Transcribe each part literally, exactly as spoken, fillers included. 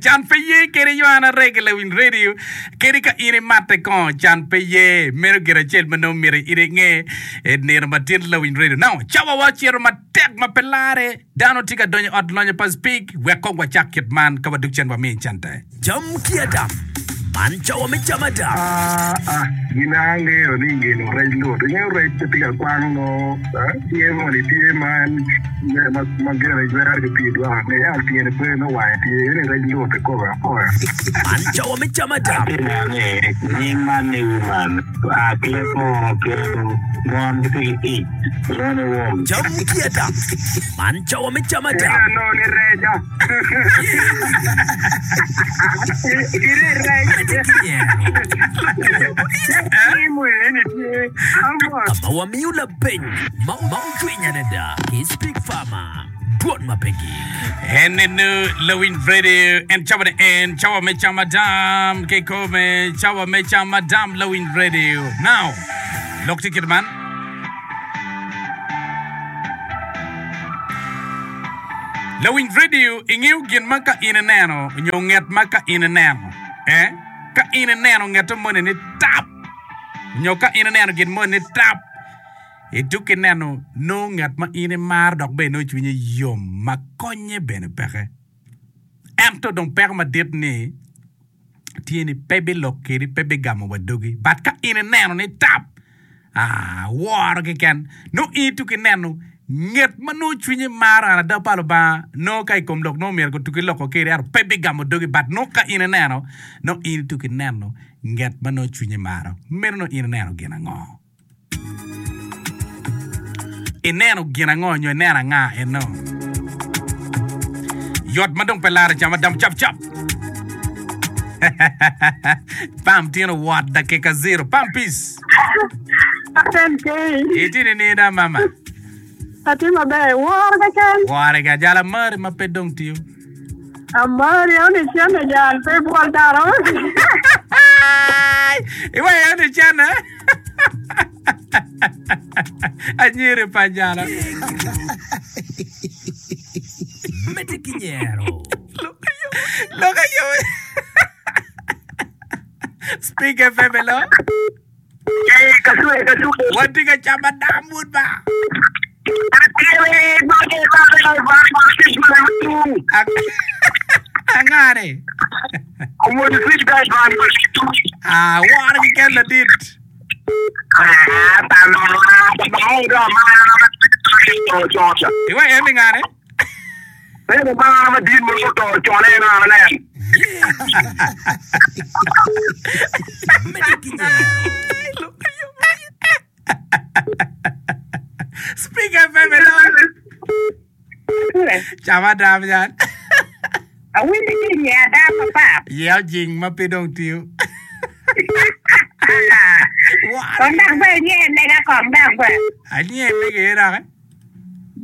Can pe ye kede ywana rege lawiny radio kadi ka in imatte kongo can pe ye meno gin acel ma nongo myero in inge i nino matin lawiny radio now cawa wa ocito matek ma pe lare dano tye ka donyo i ot lonyo pa spig wek kong wacak kit man ka wadug cen wamiye cente. Cam ki adam. Man cawa me cam adam. Aa, gin a angeyo ni gin rec lut. Ingeyo rec pe tye ka kwang nongo tye moni tye ma en ma gire jwero ki pii dwoko angec ento tyene pe nongo wange tye eni rec lut kikome apoya. Man cawa me cam adam. Atye neno ni nying man ni woman oa ki leb mo pien mon gitye ki ic kilwongo ni wom. Cam ki adam. Man cawa me cam adam. Ento anongo ni reca. Ka ma wamiyo lapeny ma ocwiny adada ki Speak Farmer, dwon ma pe gik. En eno lawiny radio en cawa ni en cawa me camo adam kikome cawa me camo adam lawiny radio now lok tye kit man. Lawiny redio, ingeyo gin ma ka in ineno nyo nget ma ka in ineno? Eh, ka in ineno ngete moni ni tap, nyo ka in ineno gin moni ni tap, ituk ineno nongo ngat ma in imaro dok bene nongo cwinye yom ma konye bene peke. Ento dong peko madit ni, tye ni pe bilok kedi, pe bigamo wa dogi. But ka in ineno ni tap, ah, woro keken. Nongo in ituko ineno nget ma nongo cwinye maro an ada pa Lubanga, nongo ka i kom lok nongo myero gutuki loko kedi ento pe bigamo dogi. But nongo ka in ineno, nongo in ituko ineno nget ma nongo cwinye maro. Meno nongo in ineno gin ango? Ineno gin ango nyo ineno anga eno? Yot ma dong pe laro cam adam cap cap. Pam tino wot dakika zero. Pam peace. Aten kei. Itini nida mama. Atye maber. Woro keken. Wore ga jala mari ma pe dong tiyo. Amari oni cene jal pe ibwol dano. Iweyo oni cene. Anyiri pa jala. Medde ki nyero. Lok ayo. Speak FM hello. Watye ka camo adam wun ba. Anga ni? Ah, woro keken ladit. Iwe en ni ngane? Medde ki nyero. Speak FM hello. Cam adam jan. Awinyo ki i nge ada papa. Ye ojing ma pe dong tiyo. Kong dok bene inye mega kong dok bene. Anyer mege ye dok eh?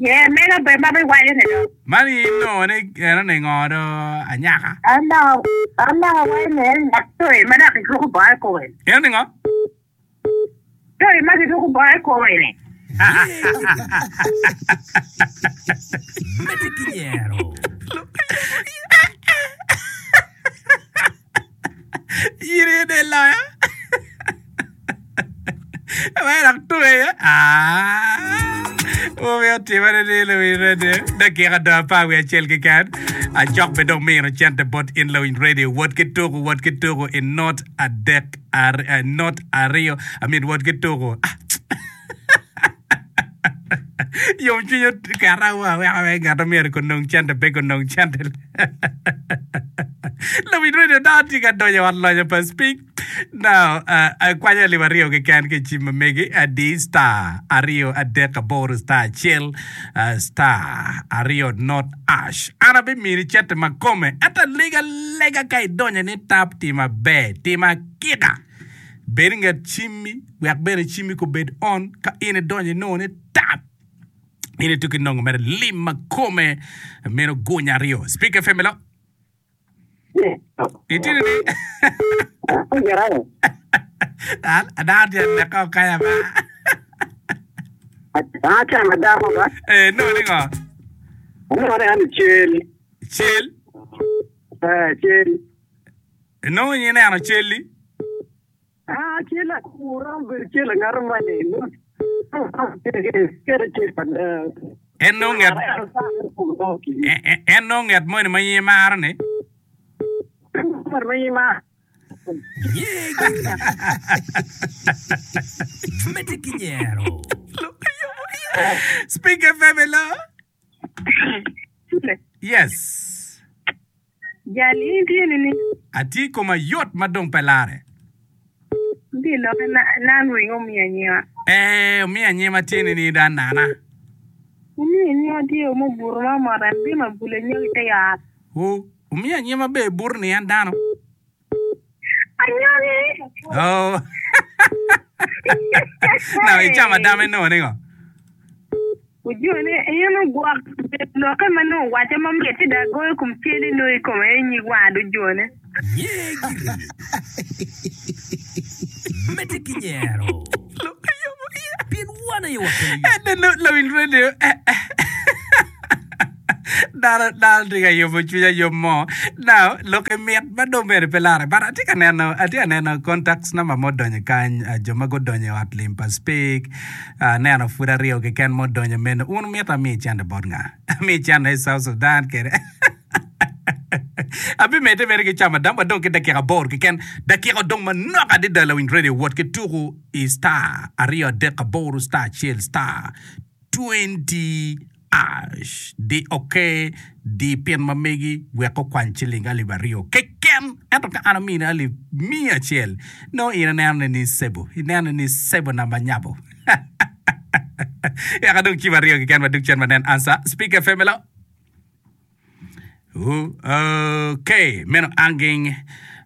Ye mega bene ma biwaco ni dong. Man in nongo ni eno ni ngo do anyaka. Anongo anongo waco ni en lak toyi ma dok kiruko bongo i kome. Eno ni ngo? Toyi ma kiruko bongo i kome-ni. Medde ki nyero. In aye dong iloyo. Wek dok twe. Ah. Omiyo otime ni lawiny radio. Dakika dong apar wiye acel keken. Acok be dong mino cente bot in lawiny radio. Wot ki tuku, wot ki tuku i not adek ar, eh, not aryo. I mean wot ki tuku. Ah. Yomcwiny oketa wa weko wek ngat myero konong cente pe konong cente. Lawiny radio dano tye ka donyo i ot lonyo pa Speak. Now, uh, akwanyo alip aryo keken ki i cim ma megi, adi star aryo adek aboro star acel uh, star aryo not ash. An abimini cente ma kome, ento alega alega ka idonyo ni tap tim maber, tim akika. Bed i nget cimmi, wek bene cimmi kubed on ka in idonyo inongo ni tap. In ituko inongo mere lim ma kome meno gunya aryo. Speak FM hello. Itye ni An adar tye aneka okaya ba. Acamo adamo ba. Eh, nongo ni ngo? Anongo ni an cel. Cel. Eh, cel. Inongo in ineno celli? Ah, cel akuro bedo cel ngato moni. Kede cel pa En nongo nget en- en- en nongo nget moni ma in imaro ni? Nye giri. Medde ki nyero. Speak F M hello. Yes. Jal in tye nini? Atye i koma yot ma dong pe lare. Ndi loke nan ringo omiyo anyima. Eh, omiyo anyima tye nini da nana. Omiyo anyima tye omubuto ma omoto en bino bule nyogi te yot. O, omiyo anyima be buto ni en dano. Anyogi! Oh. Now, icamo adama inongo ni ngo? Ujone in ogwok loke ma nongo waco ma mit ti da goyo kom cel inongo i kome en nyig wang ujone. Nye giri. Medde ki nyero. Pien wan aye wakelo yub. Ento nongo lawiny radio dano dano tye ka yubo cwinya yub mo. Now, loke mit ma dong bene pe lare. But atye ka neno atye ka neno contacts number ma odonyo kany, uh, jo ma gudonyo i ot lim pa Speak. Aneno pud aryo keken ma odonyo meno. Un mito ami cente bot nga? Ami cente i South Sudan kede. Abimedde mere ki camo adam wadong ki dakika aboro keken. Dakika odong manok adada lawiny radio wot ki tuku i star aryo adek aboro star acel star twenty ash di ok di pin ma megi wek okwany ciling alip aryo keken. Ento ka an amini alip miya acel nongo in ineno ni sebo ineno ni sebo namba nyabo. Wek adong cim aryo keken wadug cen wanen answer. Speak F M hello. Ooh, okay, meno anging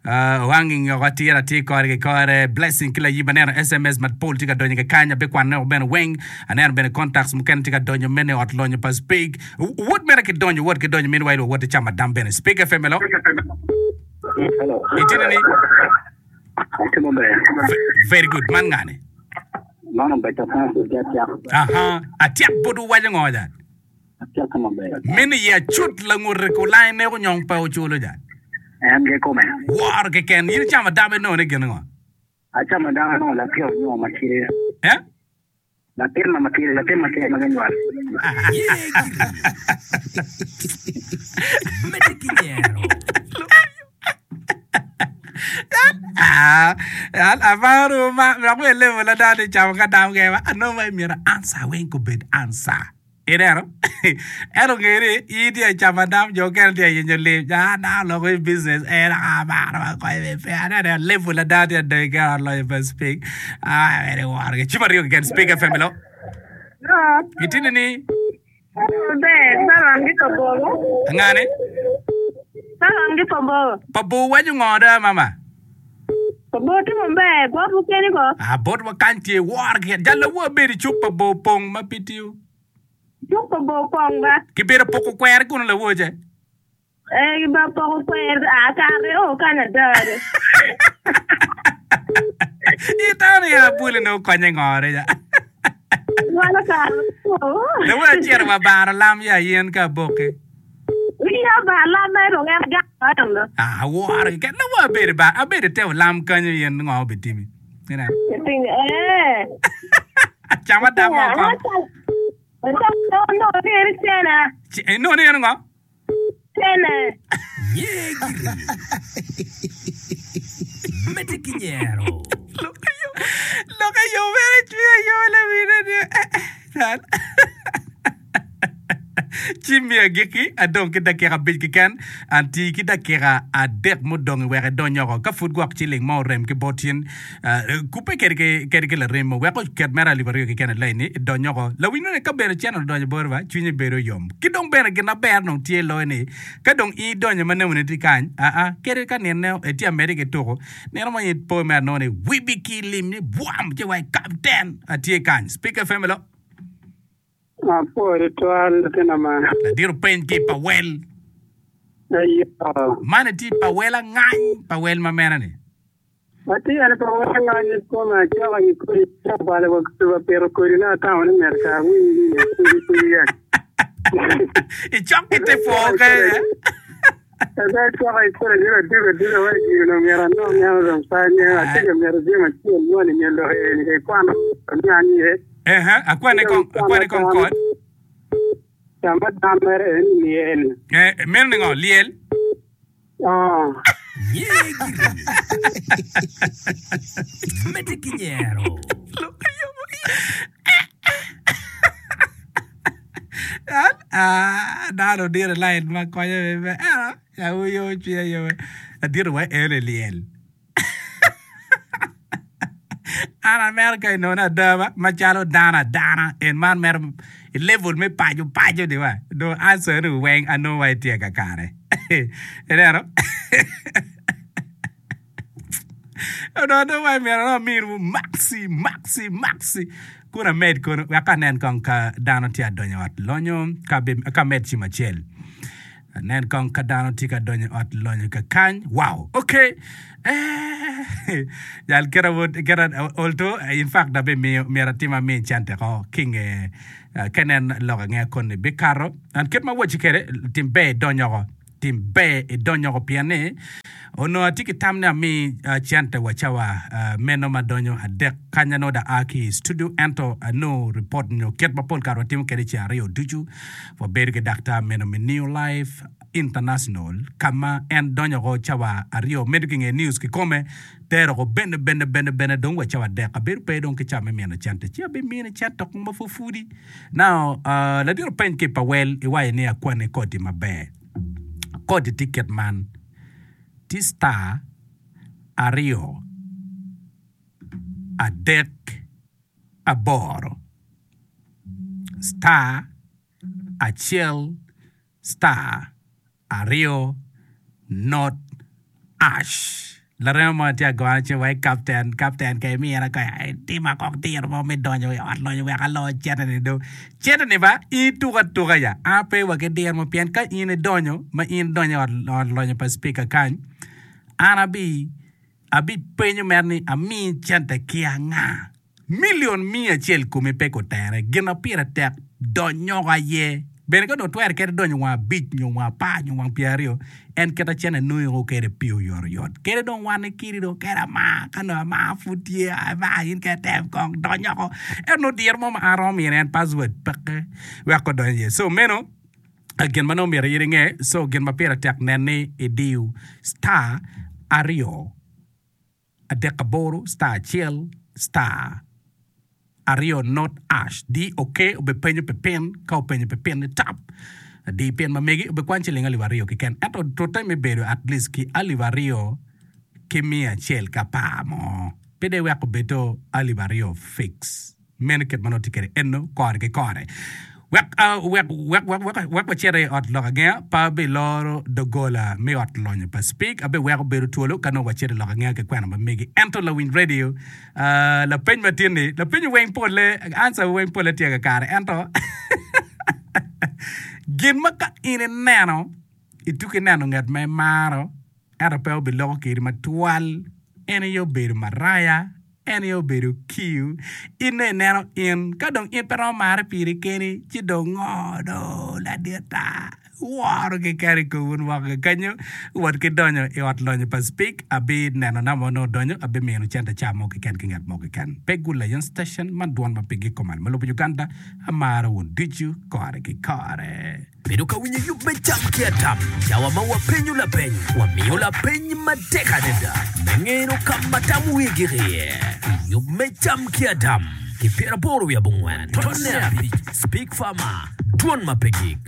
uh, oanging oko atir atir kore ki kore. Blessing ki layib aneno S M S mapol tye ka donyo kekany abikwanne bene weng. Aneno bene contacts mukene tye ka donyo meno i ot lonyo pa Speak. Wot mere ki donyo, wot ki donyo meanwhile wawot ki camo adam bene. Speak F M hello. Hello. Itye ni? Atye maber. Very good. Man ngani? Man obedo Francis ki Atiak. Aha. Atiak botwu waco ngo ja? Atiak ka maber. Meno iye acut languti kulai neko nyong pe oculo ja. En ki kome. Woro keken. In icamo adam inongo ni gin ngo? Acamo adam inongo latin onyo matidi. Eh? Latin ma matidi, latin matidi ma ginywalo. Nye giri. Medde ki nyero. Ah, amaro ma dok bene level ada ni camo ka dam kema anongo ma myero answer weng obed answer. Ineno? Ento nge ni in itye ka camo adam jo mukene tye ka yenyo lim. Ja dano loko i business en amaro ma konyo me pe. Aneno level ada tye ka dongo keken ot lonyo pa Speak. Ah, bene woro ki cim aryo keken Speak F M hello. No. Itye ni? Maber, salam gi pabogo. Ngani? Salam gi pabogo. Pabogo waco ngo da mama? Pabogo tye maber, bot mukene ko. Ah, bot wa kany tye woro keken. Jalo wa bedo i cuk pabogo pong ma pe tiyo. Cuk pabogo pong ba. Kibedo poko kweri kuno lawoce. Eh, kibedo poko kweri. Ah, kare o kany ada de. Itamo ni abule nongo konye ngo reja? Wala kare o. Lawo acito wa baro lam ya yen ka aboki. Iya bar lam ma dong en gang eno. Ah, aworo keken. Lawo abedo ba, abedo te olam kanyo yen ngo obitimi. Ineno? Itimo eh. Cam adam mo kong. No ni en cene. No ni en ngo? Cene. Nye giri. Medde ki nyero. Loka yo mere cwinya yo lawine ni. Tal. Ci mi agikki adong ki dakika abic keken, an ti ki dakika adek mudong i wek idony oko. Ka pud gwok ciling mo orem ki bot in, kubbe kede ki larem mo wek oket mere alip aryo keken i lain ni idony oko. Lawiny ni ka bene cene odonyo boti ba, cwinyi bedo yom. Ki dong bene gin maber dong tye loyo ni ka dong in idonyo ma nemoni tye kany, aa, kede ka ninne itye amedde ki tuko, nino mo in ipo mere nongo ni wibi ki lim ni bwam ci wa i kapten atye kany. Speak F M hello. Apwoyo twal latina man. Ladiro peny ki pa wel. Ayo. Man itye pa wel angany pa wel ma mene ni? Atye ane pa wel angany i kome acoka ki kodi cobale wa wa pito kodi na atamo ni myero kara awiny ni kodi kodi ya. Icok ki te pwo kene. Ebe cwaka ikore ni aduga aduga wa gino myero anong neno dong pa nyo atye ka mito jami acel moni nyo lok eni ka ikwano aniang iye. Ehe, akwane kong, akwane kong kod. Kama dam mere en lyel. Eh, meno ni ngo, lyel? Oh. Nye giri. Medde ki nyero. Ah, dano odiro lain ma konyo be ah, yawu yo cwinya yo. Adito wa en i lyel. An amito ka inona adaba macalo dano adana en man mere i level me paco paco ni wa dong answer ni weng anongo wa itye kakare. Ineno? Onongo dong wa myero dong amirwu maxi maxi maxi kun amed kono wek anen kong ka dano tye adonyo i ot lonyo ka ka amed cim acel. Anen kong ka dano tye ka donyo i ot lonyo kakany. Wow! Okay. Eh, jal keta wod keta olto in fact abimiyo myero atim ami cente ko ki nge eh, ka inen lok angeya koni bikato. An kit ma awacci kwede tim ber idony oko. Tim ber idony oko pien ni onongo atye ki tam ni ami cente wa cawa meno ma donyo adek kany anongo dong aa ki i studio ento anongo ripot nyo kit ma pol kare watimo kwede i ceng aryo ducu wabedo ki daktar meno me New Life International ka ma en donyo oko cawa aryo medo ki nge news kikome tero oko bene bene bene bene dong wa cawa adek abedo pe dong ki cawa me mino cente ci abimini cente oko ma pud pudi now ladit openy ki pa wel iwaco ni akwane kodi maber. Kodi tye kit man, tye star aryo, adek, aboro, star acel, star aryo, not ash. Larema mo tye agona ci wai kapten, kapten ka imina ka itima kong tiro mo me donyo i ot lonyo wek alo cente ni do. Cente ni ba in ituko atuka ya, an pe wa ki diro mo pien ka in idonyo ma in idonyo i ot, ot lonyo pa speaker kany, an abi abi penyo mere ni ami cente ki anga. Milion miya acel komi pe gutere. Gin ma pire tek donyoko aye. Bene ka dong twere kadi donyo wang abic nyo wang apar nyo wang pyeraryo, en kit acen enongo kede pi oyotoyot. Kede dong wan kidi dong kede amar, ka nongo amar pud tye, amar in kede tem kong donyoko. Ento nongo diro mo ma an aromo mine en password peke wek odony iye. So meno gin ma nongo myero in inge. So gin ma pire tek nen ni idiyo star aryo. Adek aboro star acel star aryo not ash di ok obipenyo pi pin ka openyo pi pin ni tap di pin ma megi obikwany ciling alip aryo keken ento tute me bedo at least ki alip aryo ki miya acel ki apar mo pe de wek obedo alip aryo fix. Meno kit ma nongo tye kwede eno kore ki kore. Wek, wek, wek, wek, wek, wek wacit i ot lok angeya, pe abiloro doggola me ot lonyo pa Speke, abiweko bedo twolo ka nongo wacito i lok angeya ki kwena ma megi. Ento lawiny radio, uh, lapeny ma tin-ni, lapeny weng polle, answer weng polle tye kakare, ento gin ma ka in ineno, ituko ineno ngat ma imaro, ento pe obiloko kedi matwal, en aye obedo maraya. En aye obedo kiyo. In dong ineno in. Ka dong in pe romo mare piri keni, ci dong ngo do laditta? Woro keken i kom wun woko kakanyo. Wot ki donyo i ot lonyo pa Speke. Abineno namba ma onongo odonyo, abimino cente ca mo keken ki ngat mo keken. Pe gul Lion Station, man dwon ma pigi komal ma lubo Uganda. Amaro wun ducu kore ki kore. Bedo ka winyo yub me Cam ki Atam cawa ma wapenyo lapeny, wamiyo lapeny matek adada me ngeno ka ma tam wiye gik iye. Yub me Cam ki Atam ki pyeraboro wiye abongwen tonne abic Speak Farmer, Dwon ma pe gik.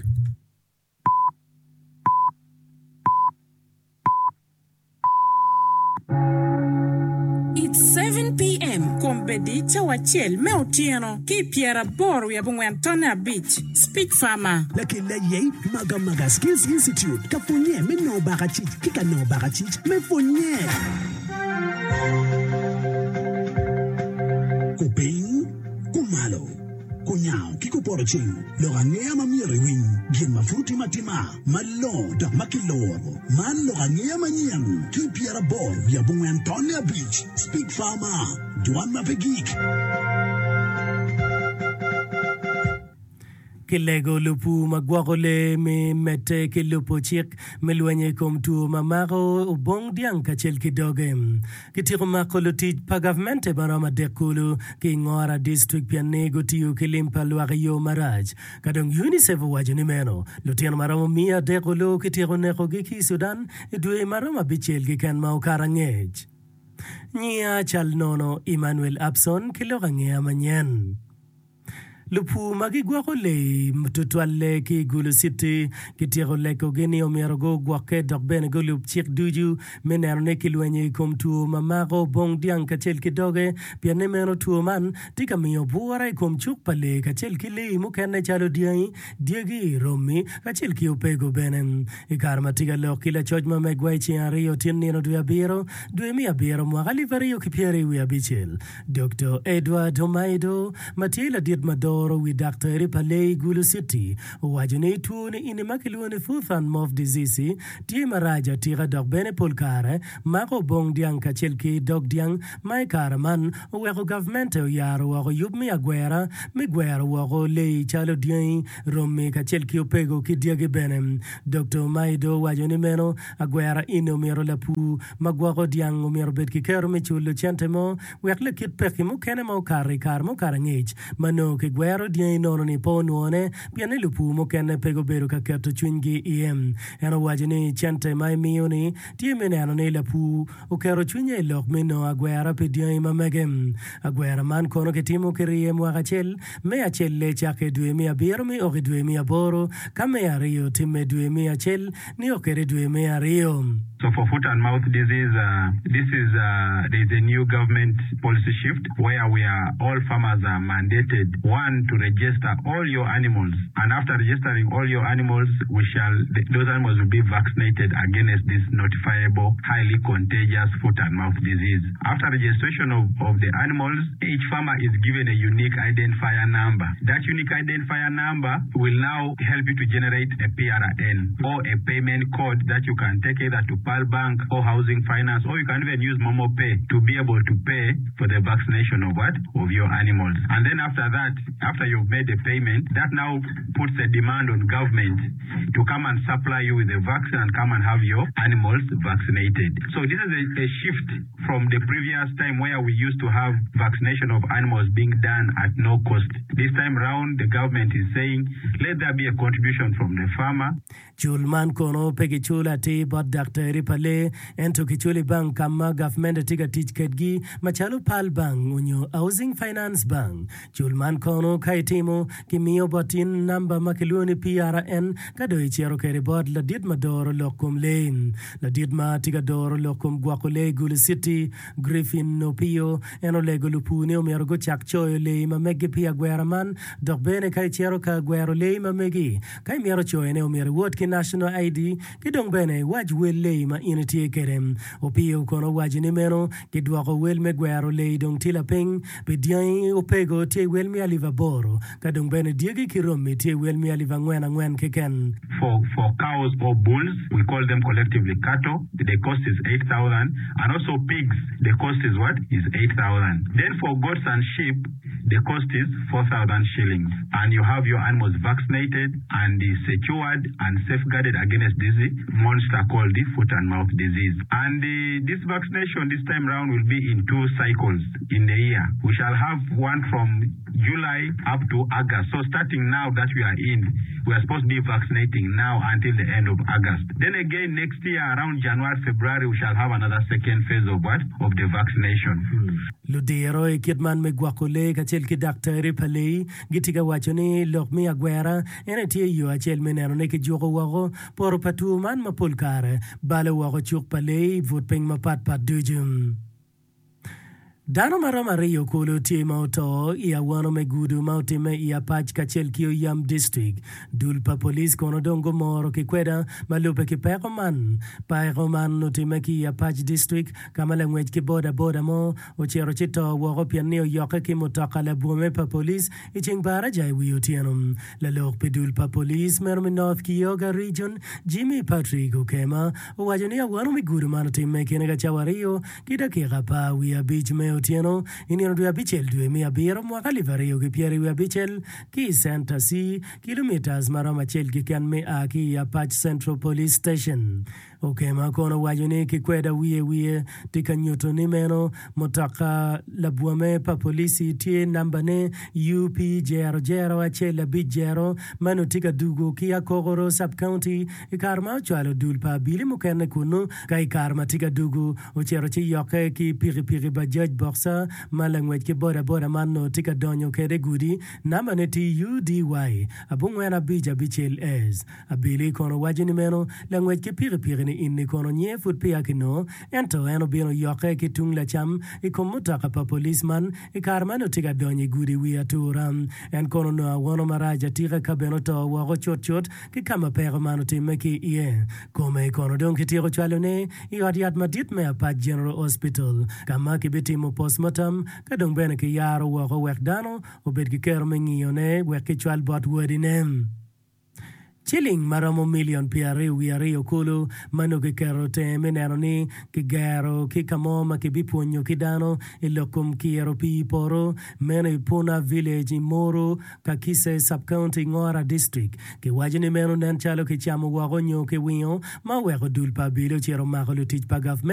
It's seven PM Kombeddi cawa acel me otyeno ki i pyeraboro wiye abongwen tonne abic. Speak Farmer. Lakel aye Magamaga Skills Institute ka pwonye me nongo bakacic ki ka nongo bakacic me pwonye. Kupiny, kumalo, kunyango ki kupoto ceng, lok angeya ma myero iwiny, gin ma pud otime atima, malongo dok ma kiloro. Man lok angeya manyen ki i pyeraboro wiye abongwen tonne abic. Speak Farmer, Dwan ma pe gik. Kilego lupur ma gwoko lee me medde ki lubo cik me lweny i kom two ma mako obong dyang kacel ki doge. Kityeko mako lutic pa gavmente ma romo adek kulu ki i Ngora District pien ni gutiyo ki lim pa lwak i yo marac. Ka dong UNICEF owaco ni meno, lutino ma romo miya adek olu kityeko nekogi ki i Sudan i dwe ma romo abicel keken ma okato angec. Nyiya cal nono Emmanuel Abson ki lok angeya manyen. Lupur ma gigwoko leyi tutwalle ki i Gulu City gityeko legogi ni omyero gugwokke dok bene gulub cik ducu me neno ni kilwenyo i kom two ma mako bong dyang kacel ki doge pien ni meno two man tye ka miyo bwura i kom cuk pa lee kacel ki leyi mukene calo dyangi, dyegi, romi kacel ki opego bene. I kare ma tye ka lok ki lacoc ma megwa i ceng aryo tyen nino dwe abiro dwe me abiro mwaka alip aryo ki pyeraryo wiye abicel, Doktor Edward Omaido, ma tye ladit ma doro wi daktari pa lee i Gulu City, owaco ni two ni ini ma kilwongo ni Foot and Mouth Disease tye marac atika dok bene pol kare mako obong dyang kacel ki dog dyang ma i kare man oweko gavmente oyaro woko yub me agwera me gwero woko lee calo dyangi, romi kacel ki opego ki dyegi bene. Doktor Omaido owaco ni meno agwera ini omyero lapur ma gwoko dyang omyero obed ki kero me culo cente mo wek lakit pekki mukene ma okato i kare mukato angec ma nongo kigwero dyangi nono ni pe onwone pien ni lupur mukene pe gubedo ka keto cwinygi iye. En owaco ni cente ma emiyo ni tye me neno ni lapur oketo cwinye i lok me nongo agwera pi dyangi ma mege. Agwera man kono kitimo kirye mwaka acel, me acel-le cakke i dwe me abiro me ok i dwe me aboro ka me aryo timme dwe me acel nio kwede dwe me aryo. So for foot and mouth disease this is there is a new government policy shift where we are all farmers are mandated one to register all your animals and after registering all your animals we shall those animals will be vaccinated against this notifiable highly contagious foot and mouth disease. After registration of of the animals each farmer is given a unique identifier number that unique identifier number will now help you to generate a P R N or a payment code that you can take either to Pearl Bank or Housing Finance or you can even use Momo Pay to be able to pay for the vaccination of what? Of your animals. And then after that, after you've made the payment, that now puts a demand on government to come and supply you with the vaccine and come and have your animals vaccinated. So this is a, a shift from the previous time where we used to have vaccination of animals being done at no cost. This time round, the government is saying, let there be a contribution from the farmer. Cul man kono pe kiculo atir bot daktari pa lee, ento kiculo i bank ka ma gavmente tye ka tic kedgi macalo Pearl Bank onyo Housing Finance Bank. Cul man kono ka itimo, kimiyo bot in namba ma kilwongo ni P R N ka dong icito kwede bot ladit ma doro lok kom lee. Ladit ma tye ka doro lok kom gwoko lee i Gulu City, Griffin Opiyo, en olego lupur ni omyero gucak coyo lee ma meggi pi agwera man dok bene ka icito ka gwero lee ma megi, Ka imito coyone, omyero iwot ki National I D ki dong bene iwac wel leyi ma in itye kwede. Opiyo kono owaco ni meno kidwoko wel me gwero leyi dong tye lapiny. Pi dyangi opego tye i wel me alip aboro ka dong bene dyegi ki romi tye i wel me alip angwen angwen keken. For for cows or bulls, we call them collectively cattle, the cost is eight thousand and also pigs the cost is what? Is eight thousand. Then for goats and sheep, The cost is four thousand shillings and you have your animals vaccinated and secured and safeguarded against this monster called foot and mouth disease and this vaccination this time round will be in two cycles in the year we shall have one from July up to August so starting now that we are in we are supposed to be vaccinating now until the end of August then again next year around January February we shall have another second phase of what of the vaccination. Ludiro i kit man me gwoko lee kacel ki daktari pa leyi gitye ka waco ni lok me agwera en aye tye yo acel me neno ni kijuko woko poto pa two man ma pol kare balo woko cuk pa leyi i but piny mapat pat ducu. Dano ma romo aryo kulu tye ma oto i awano me gudo ma otimme i Apac kacel ki Oyam District. Dul pa police kono dong gumoro ki kweda ma lube ki peko man. Peko man otimme ki i Apac District ka ma langwec ki boda boda mo ocito ci to woko pien ni oyokke ki mutoka labwome pa police i ceng baraja i wi otyeno. Lalok pi dul pa police meno me North Kyoga Region, Jimmy Patrick Okema owaco ni awano me gudo man otimme i kine ka cawa aryo ki dakika apar wiye abic me otyeno i nino dwe abicel dwe me abiro mwaka alip aryo ki pyeri wiye abicel ki i Center C, kilometres ma romo acel keken me a ki i Apac Central Police Station. Okema kono owaco ni kikweda wiye wiye tye ka nyuto ni meno mutoka labwame pa polici tye nambane U P jero jero acel abic jero ma nongo tye ka dugo ki Akokoro Sub-County i kare ma ocwalo dul pa abili mukene kunnu ka i kare ma tye ka dugo ocito ci yokke ki pikipiki bajaj bokca ma langwec ki boda boda man onongo tye ka donyo kwede i gudi nambane tye U D Y abongwen abic abicel S. Abili kono owaco ni meno langwec ki pikipiki-ni inni kono nyinge pud peya kinongo, ento en obino yokke ki tung lacam i kom mutoka pa polic man i kare ma nongo tye ka donyo i gudi i wi atura. En kono onongo awono marac atika ka bene oto woko cutcut ki ka ma peko man otimme ki iye. Kome kono dong kityeko cwalone i ot yat madit me Apac General Hospital ka ma kibitimo postmortem ka dong bene kiyaro woko wek dano obed ki kero me ngiyone wek kicwal bot wadine. Ciling ma romo milion pyeraryo wiye aryo kulu ma nongo kiketo tenge me neno ni kigero ki ka mo ma kibipwonyo ki dano i lok kom kiro pii i poto meno i Puna Village i Moro, Kakise Sub-County, Ngora District. Kiwaco ni meno nen calo kicamo woko nyo kiwingo ma oweko dul pa abili ocito omako lutic pa gavment.